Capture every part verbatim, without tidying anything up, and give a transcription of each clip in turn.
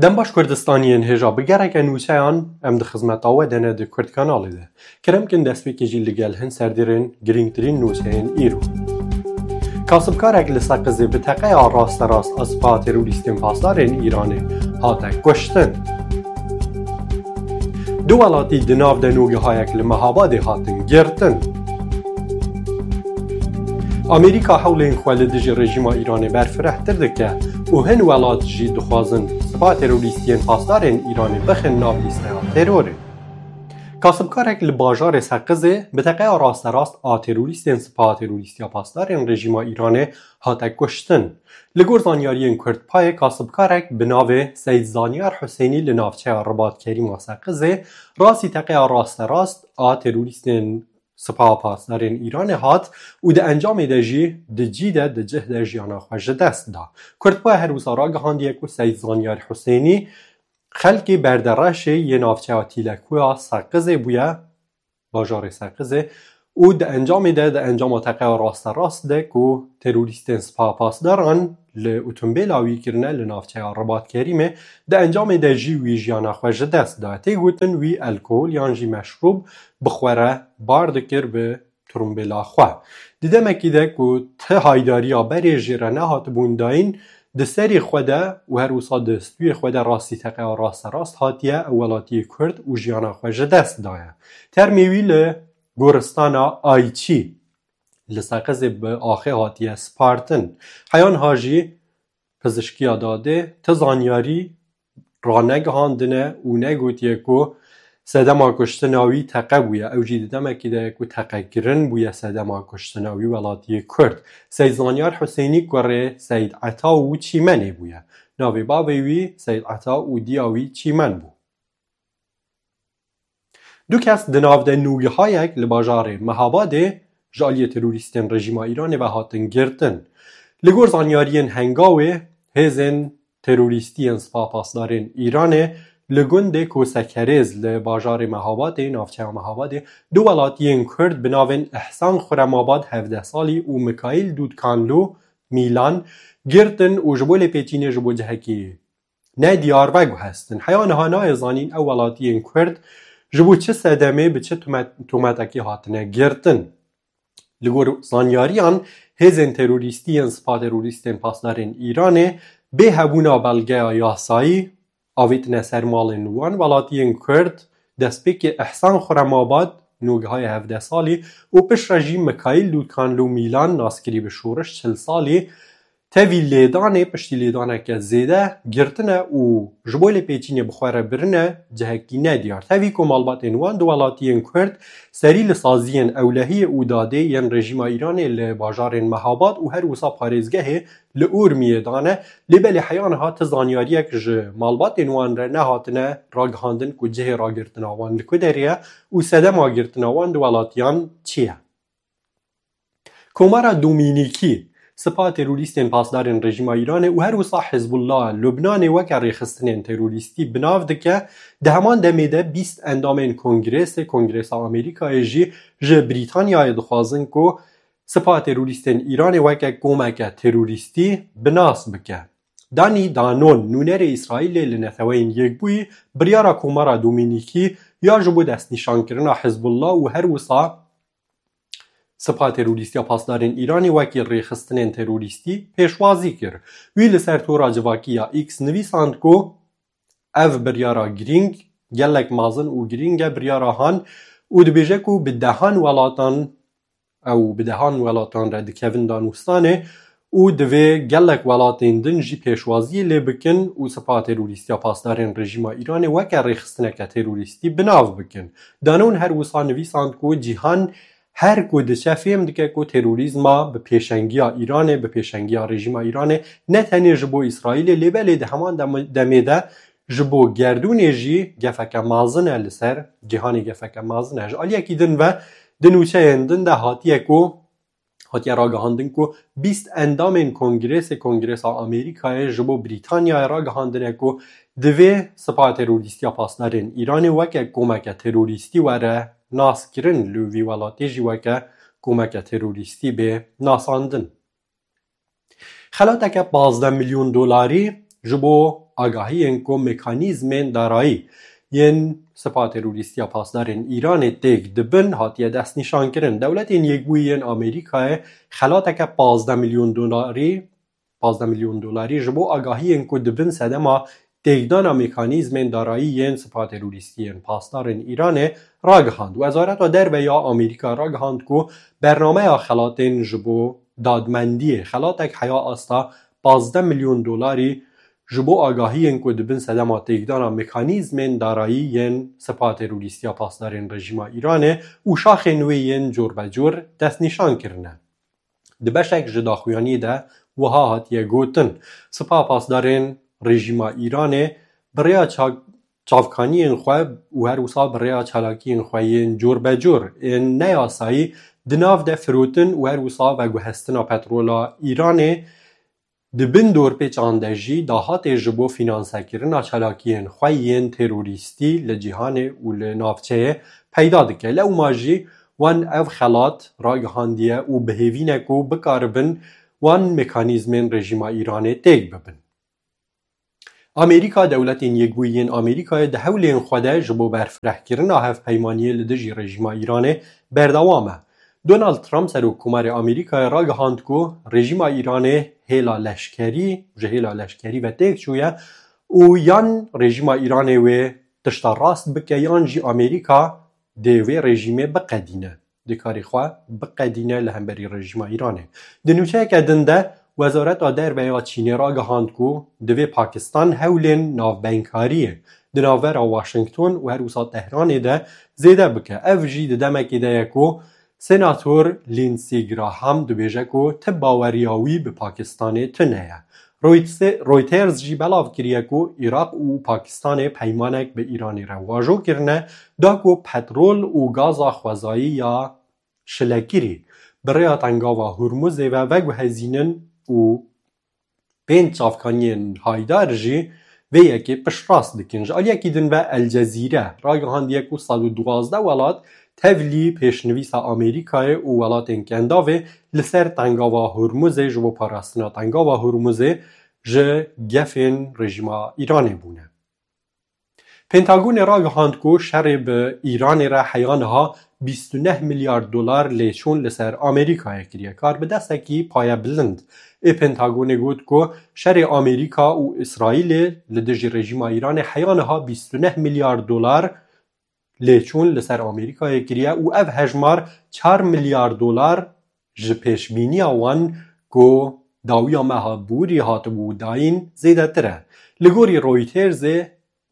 Dem baş Kurdistaniyên hêja, bi gereke nûçeyan em di xizmeta we de ne di Kurd kanalê de. Kerem kin destpêkê jî li gel hin serdêrên girîngtirîn nûçeyên îro. Kasibkarek li Seqizê bi teqeya rasterast a spa terorîstên pasdarên Îranê hate kuştin. Du welatî di nav de nûgehayek li Mehabadê hatin girtin. Amerîka hewlên xwe li dijî rejîma Îranê berfirehtir dike û hin welat jî dixwazin spa terorîstiyên pasdarên Îranê bixin nav lîsteya terorê. Kasibkarek li bajarê Seqizê bi teqeya rasterast a terorîstên spa terorîstiya pasdarên rejîma Îranê hate kuştin. Li gor zanyariyên Kurdpayê, kasibkarek bi navê Seyîd Zanyar Husênî li navçeya Ribat Kerîm a Seqizê rastî teqeya rasterast a terorîstên Sipaha Pasdarên Îranê hat û di encamê de jî di cî de, di cih de jiyana xwe ji dest da. Kurdpayê her wisa ragihandiye ku Seyîd Zanyar Husênî xelkê berdereşê yê navçeya Tîlekuya Seqizê bûye, bajarê Seqizê, û di encamê de, di encama teqeya rasterast de ku terorîstên Sipaha Pasdaran li otombêla wî kirine li navçeya Ribat Kerîmê, di encamê de jî wî jiyana xwe ji dest da. Tê gotin wî alkol yan jî meşrûb bi xwe re bar dikir bi turumbêla xwe. Di demekî de ku ti haydariya berê jê re nehatibûn dayîn, di serê xwe de û her wisa di stûyê xwe de rastî teqeya rasterast hatiye ew welatiyê Kurd û jiyana xwe ji dest daye. Termê wî li goristana Ayçî li Seqizê bi axê hatiye spartin. Heya niha jî pizişkiya dadê ti zanyarî ranegihandine û negotiye ku sedema kuştina wî teqe bûye. Ew jî di demekî de ye ku teqekirin bûye sedema kuştina wî welatiyê Kurd. Seyîd Zanyar Husênî kurê Seyîd Eta û Çîmenê bûye. Navê bavê wî Seyîd Eta û diya wî Çîmen bû. Du kes di nav de nûgehayek li bajarê Mehabadê ji aliyê terorîstên rejîma Îranê ve hatin girtin. Li gor zanyariyên Hengawê, hêzên terorîstî yên Sipaha Pasdarên Îranê li gundê Kosekerêz li bajarê Mehabadê, navçeya Mehabadê, du welatiyên Kurd bi navên Ihsan Xuremabad, hevdeh salî, û Mikaîl Dûdkanlû Mîlan girtin û ji bo lêpêçînê ji bo cihekî nediyar veguhestin. Heya niha nayê zanîn ew welatiyên Kurd ji bo çi sedemê, bi çi tomet-, tometekê hatine girtin. Li gor zanyariyan, hêzên terorîstî yên Spa Terorîstên Pasdarên Îranê bê hebûna belgeya yasayî avêtine ser malên wan welatiyên Kurd, destpêkê Ihsan Xuremabad, nûgehayê hevdeh salî, û piştre jî Mikaîl Dûdkanlû Mîlan, naskirî bi Şoreş, çil salî, tevî lêdanê, piştî lêdaneke zêde girtine û ji bo lêpêçînê bi xwe re birine cihekî nediyar. Tevî ku malbatên wan di welatiyên Kurd serî li saziyên ewlehiyê û dadê yên rejîma Îranê li bajarên Mehabad û her wisa parêzgehê li Urmiyê dane, lê belê heya niha ti zanyariyek ji malbatên wan re nehatine ragihandin ku cihê ragirtina wan li ku derê ye û sedema girtina wan di welatiyan çi ye. Komara Domînîkî, Sipa Terorîstên Pasdarên Rejîma Îranê û her wisa Hizbullah Lubnanê weke rêxistinên terorîstî bi nav dike, di heman demê de bîst endamên Kongresê, Kongresa Amerîkayê jî ji Brîtanyayê dixwazin ku Sipa Terorîstên Îranê weke komeke terorîstî bi nas bike. Danî Danon, nûnerê Îsraîlê li Neteweyên Yekbûyî, biryara Komara Domînîkî ya ji bo destnîşankirina Hizbullah û her wisa Sipa Terorîstiya Pasdarên Îranê wekî rêxistinên terorîstî pêşwazî kir. Wî li ser tora civakî ya X nivîsand ku ev biryara girîng, gelek mezin û girîng e biryara han û dibêje ku bi dehan welatan, ew bi dehan welatan re dikevin danûstanê û divê gelek welatên din jî pêşwaziyê lê bikin û Sipa Terorîstiya Pasdarên Rejîma Îranê weke rêxistineke terorîstî bi nav bikin. Danon her wisa nivîsand ku cîhan her ku diçe fêm dike ku terorîzma bi pêşengiya Îranê, bi pêşengiya rejîma Îranê, ne tenê ji bo Îsraîlê, lê belê di heman dem-, demê de ji bo gerdûnê jî gefeke mezin e li ser cîhanê, gefeke mezin e. Ji aliyekî din ve di nûçeyên din de hatiye ku, hatiye ragihandin ku bîst endamên Kongresê, Kongresa Amerîkayê ji bo Brîtanyayê ragihandine ku divê Sipa Terorîstiya Pasdarên Îranê weke komeke terorîstî were naskirin, li vî welatê jî weke komeke terorîstî bê nasandin. Xelateke pazdeh milyon dolarî ji bo agahiyên ku mekanîzmên darayî yên Sipa Terorîstiya Pasdarên Îranê têk dibin hatiye destnîşankirin. Dewletên Yekbûyî yên Amerîkayê xelateke pazdeh milyon dolarî, pazdeh milyon dolarî ji bo agahiyên ku dibin sedema têkdana mekanîzmên darayî yên Sipa Terorîstî yên Pasdarên Îranê ragihand. Wezareta Derve ya Amerîka ragihand ku bernameya xelatên ji bo dadmendiyê, xelatek heya asta pazdeh milyon dolarî ji bo agahiyên ku dibin sedema têkdana mekanîzmên darayî yên Sipa Terorîstiya Pasdarên Rejîma Îranê û şaxên wê yên corbecor destnîşan kirine. Di beşek ji daxuyaniyê de wiha hatiye gotin, Sipa Pasdarên Rejîma Îranê bi rêya ça-, çavkaniyên xwe û her wisa bi rêya çalakiyên xwe yên corbecor ên neyasayî di nav de firotin û her wisa veguhestina petrola Îranê di bin dorpêçan de jî dahatê ji bo fînansekirina çalakiyên xwe yên terorîstî li cîhanê û li navçeyê peyda dike. Lewma jî wan ev xelat ragihandiye û bi hêvî ne ku bikaribin wan mekanîzmên rejîma Îranê têk bibin. Amerîka, Dewletên Yekbûyî yên Amerîkayê di hewlên xwe de ji bo berfirehkirina hevpeymaniyê li dijî rejîma Îranê berdewam e. Donald Trump, Serokkomarê Amerîkayê, ragihand ku rejîma Îranê hêla leşkerî, ji hêla leşkerî ve têk çûye û yan rejîma Îranê wê tişta rast bike, yan jî Amerîka dê wê rejîmê biqedîne, dê karê xwe biqedîne li hemberî rejîma Îranê. Di nûçeyeke din de, Wezareta Derve ya Çînê ragihand ku divê Pakistan hewlên navbeynkariye di navbera Washington û her wisa Tehranê de zêde bike. Ev jî di demekê de ye ku Senator Lindsey Graham dibêje ku ti baweriya wî bi Pakistanê tune ye. Reutse-, Reuters jî belav kiriye ku Iraq û Pakistanê peymanek bi Îranê re wajo kirine, da ku petrol û gaza xwezayî ya şilekirî bi rêya Tengava Hurmuzê ve veguhezînin û pênc çavkaniyên haydar jî vê yekê piştrast dikin. Ji aliyekî din ve El Cezîre ragihandiye ku sed û duwazdeh welat tevlî pêşnivîsa Amerîkayê û welatên Kendavê li ser Tengava Hurmuzê ji bo parastina Tengava Hurmuzê ji gefên rejîma Îranê bûne. Pentagonê ragihand ku şerê bi Îranê re heya niha bîst û neh milyar dolar lêçûn li ser Amerîkayê kiriye. Karbidestekî payebilind ê Pentagonê got ku şerê Amerîka û Îsraîlê li dijî rejîma Îranê heya niha bîst û neh milyar dolar lêçûn li ser Amerîkayê kiriye û ev hejmar çar milyar dolar ji pêşbîniya wan ku dawiya meha borî hatibû dayîn zêdetir e. Li gorî Reutersê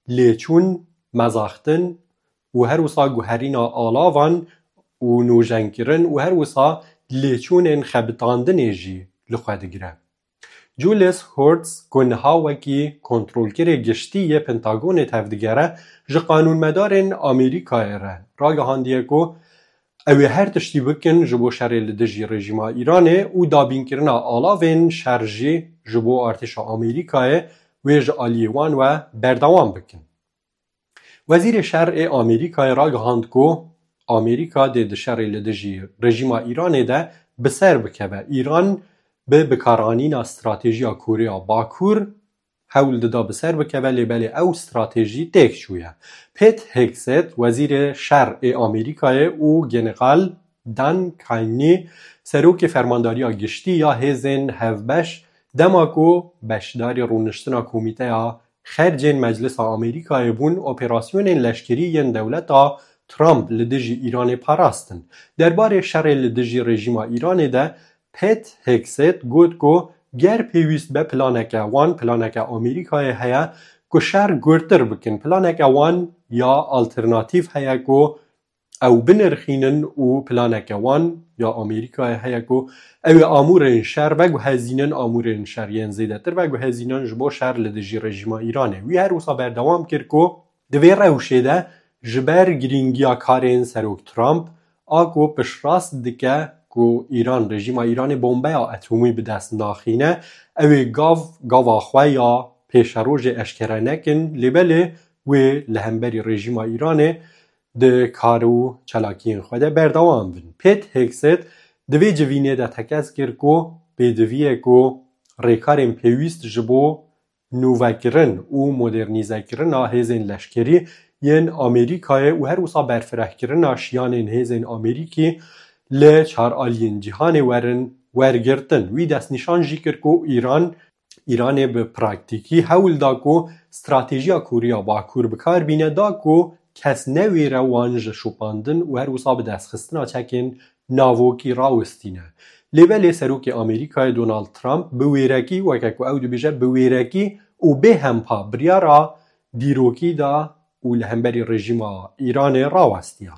lêçûn, mezaxtin û her wisa guherîna alavan û nûjenkirin û her wisa lêçûnên xebitandinê jî li xwe digire. Julius Hortz, ku niha wekî kontrolkerê giştî yê Pentagonê tevdigere, ji qanûnmedarên Amerîkayê re ragihandiye ku ew ê her tiştî bikin ji bo şerê li dijî rejîma Îranê û dabînkirina alavên şer jî ji bo artêşa Amerîkayê wê ji aliyê wan ve berdewam bikin. Wezîrê Şer ê Amerîkayê ragihand ku Amerîka dê di şerê li dijî rejîma Îranê de bi ser bikeve. Îran bi bikaranîna stratejiya Koreya Bakur hewl dida bi ser bikeve, lê belê ew stratejî têk çûye. Pete Hegseth, wezîrê şer ê Amerîkayê û General Dan Caine, serokê Fermandariya Giştî ya Hêzên Hevbeş, dema ku beşdarî rûniştina Komîteya Xercên Meclisa Amerîkayê bûn, operasyonên leşkerî yên dewleta Trump li dijî Îranê parastin. Derbarê şerê li dijî rejîma Îranê de Pete Hegseth got ku ger pêwîst be planeke wan, planeke Amerîkayê heye ku şer gurtir bikin. Planeke wan ya alternatîf heye ku ew binirxînin û planeke wan ya Amerîkayê heye ku ew ê amûrên şer veguhezînin, amûrên şer yên zêdetir veguhezînin ji bo şer li dijî rejîma Îranê. Wî her wisa berdewam kir ku di vê rewşê de ji ber girîngiya karên Serok Trump a ku piştrast dike ku Îran, rejîma Îranê bombeya etomî bi dest naxîne, ew ê gav, gava xwe ya pêşerojê eşkere nekin, lê belê wê li hemberî rejîma Îranê di kar û çalakiyên xwe de berdewam bin. Pete Hegseth di vê civînê de tekez kir ku pêdivî ye ku rêkarên pêwîst ji bo nûvekirin û modernîzekirina hêzên leşkerî yên Amerîkayê û her wisa berfirehkirina şiyanên hêzên Amerîkî li çar aliyên cîhanê werin wergirtin. Wî destnîşan jî kir ku Îran, Îranê bi praktîkî hewl da ku stratejiya Koreya Bakur bi kar bîne, da ku kes newêre wan ji şopandin û her wisa bi destxistina çekên navokî rawistîne. Lê belê serokê Amerîkayê Donald Trump bi wêrekî, weke ku ew dibêje, bi wêrekî û bê hempa biryara dîrokî da û li hemberî rejîma Îranê rawestiya.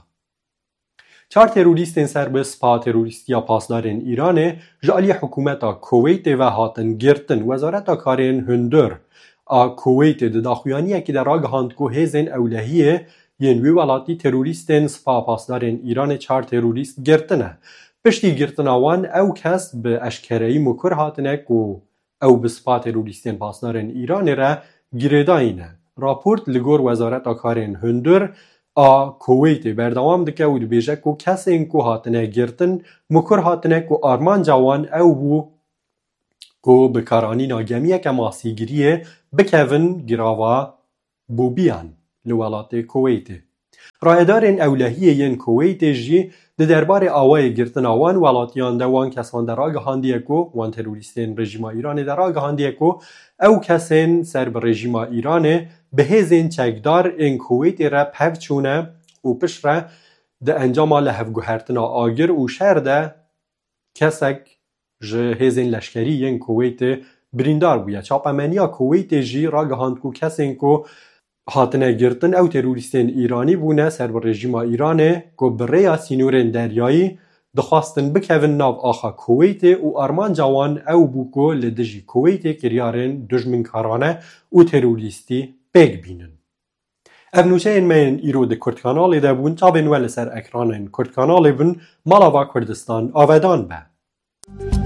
Çar terorîstên ser bi spa terorîstiya pasdarên Îranê ji aliyê hikûmeta Kuweytê ve hatin girtin. Wezareta Karên Hundir a Kuweytê di daxuyaniyekê de ragihand ku hêzên ewlehiyê yên wî welatî terorîstên spa pasdarên Îranê çar terorîst girtine. Piştî girtina wan ew kes bi eşkereyî mikur hatine ku ew bi spa terorîstên pasdarên Îranê re girêdayî ne. Raport li gor Wezareta Karên Hundir a Kuweytê berdewam dike û dibêje ku kesên ku hatine girtin, mikur hatine ku armanca wan ew bû ku bi karanîna gemiyeke masîgiriyê bikevin girava Bobiyan li welatê Kuweytê. Rayedarên ewlehiyê yên Kuweytê jî di derbarê awayê girtina wan welatiyan de, wan kesan de ragihandiye ku, wan terorîstên rejîma Îranê de ragihandiye ku ew kesên ser bi rejîma Îranê bi hêzên çekdar ên Kuweytê re pev çûne û piştre di encama lihevguhertina agir û şer de kesek ji hêzên leşkerî yên Kuweytê birîndar bûye. Çapemeniya Kuweytê jî ragihand ku kesên ku hatine girtin ew terorîstên Îranî bûne ser bi rejîma Îranê ku bi rêya sînorên deryayî dixwastin bikevin nav axa Kuweytê û armanca wan ew bû ku li dijî Kuweytê kiryarên dijminkarane û terorîstî pêk bînin. Ev nûçeyên me yên îro di Kurd Kanalê de bûn. Çavên we li ser ekranên Kurd Kanalê bin. Mala va Kurdistan avedan be.